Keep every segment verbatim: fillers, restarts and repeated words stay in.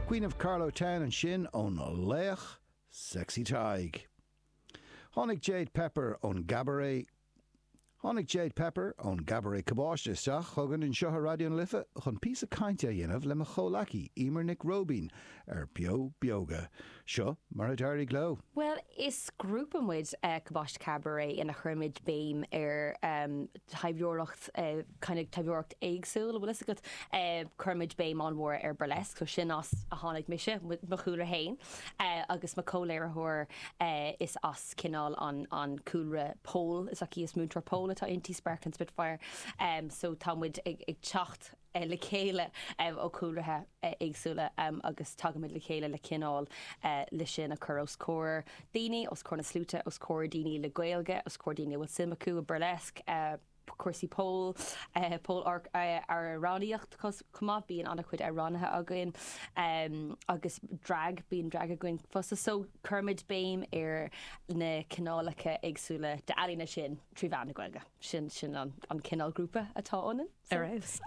Queen of Carlow Town ansin ón laoch Sexy Tadhg. Tháinig Jade Pepper ón gCabaret Tháinig Jade Pepper ón gCabaret Cabáiste isteach chugainn anseo ar Raidió na Life chun píosa cainte a dhéanamh le mo chomhghleacaí Emer Nic Róibín ar Beo Beoga. Seo mar a d'éirigh leo. Well, is grúpa muid uh, Cabáiste Cabaret ina chuirimid béim ar um, taibheoireacht uh, kind of taibheoireacht éagsúil bhfuil agat uh, cuirimid béim an-mhór ar burlesque, so sin as a tháinig mise mo chúlra féin uh, agus mo chomhléiritheoir uh, is as cineál an, an cúlra pole is aici is múinteoir pole atá inti Sparkling Spitfire um, so tá muid ag, ag teacht uh, le chéile um, ó chúlraí uh, éagsúla um, agus tagaimid le chéile le cineál uh, le sin a chur os comhair daoine os comhair na sluaite os comhair daoine le Gaeilge os comhair daoine bhfuil suim acu i burlesque uh, cúrsaí pole uh, pole uh, amhránaíocht chomh bíonn an-chuid amhránaithe againn um, agus drag bíonn drag againn fosta so cuirimid béim ar na cineálacha éagsúla d'ealaíona sin trí mheán na Gaeilge sin sin an, an cineál grúpa atá ionainn. So,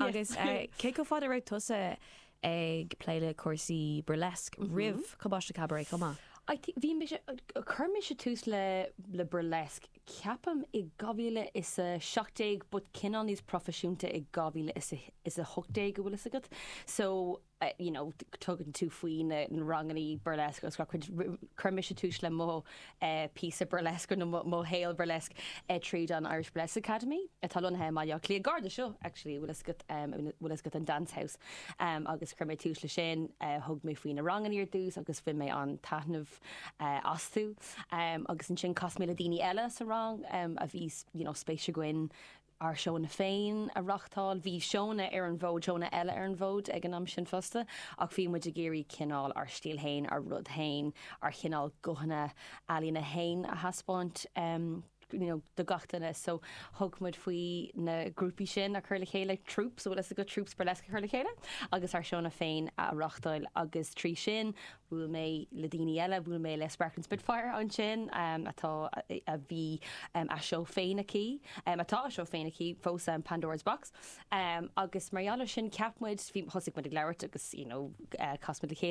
agus uh, cé chomh fada raibh tusa ag plé le cúrsaí burlesque mm -hmm. roimh Cabáiste Cabaret chomh maith? Bhí chuir mise tús le le burlesque ceapaim i dhá mhíle is a seacht déag but cineál níos proifisiúnta i dhá mhíle is a hocht déag go bhfuil agat. So uh, you know, tugann tú faoi na ranganna burlesque agus chuir mise tús le mo uh, píosa burlesque nó mo shaol burlesque uh, tríd an Irish Burlesque Academy atá lonnaithe i mBaile Átha Cliath gar do seo actually bhfuil um, bhfuil agat an Dance House um, agus chuir mé tús le sin uh, thug mé faoi na ranganna ar dtús agus bhain mé an-taitneamh uh, astu um, agus ansin chas mé le daoine eile sa rang um, a bhí you know, spéis againn ár seónna féin a reáchtáil, bhí seónna ar an bhfód seónna eile ar an bhfód ag an am sin fosta, ach bhí muid ag iarraidh cineál ár stíl féin ár rud féin ár chineál guthanna ealaíne féin a thaispeáint um, you know, do gach duine so thug muid faoi na grúpaí sin a chur le chéile troupes so go troupes burlesque a chur le chéile agus ár seónna féin a reáchtáil agus trí sin bhuail mé le daoine eile bhuail mé le Sparkling Spitfire ansin um, atá a bhí um, a seó féin aici um, atá a seó féin aici fós um, Pandora's Box um, agus mar sin ceap muid thosaigh muid ag labhairt agus you know, uh, chas muid le chéile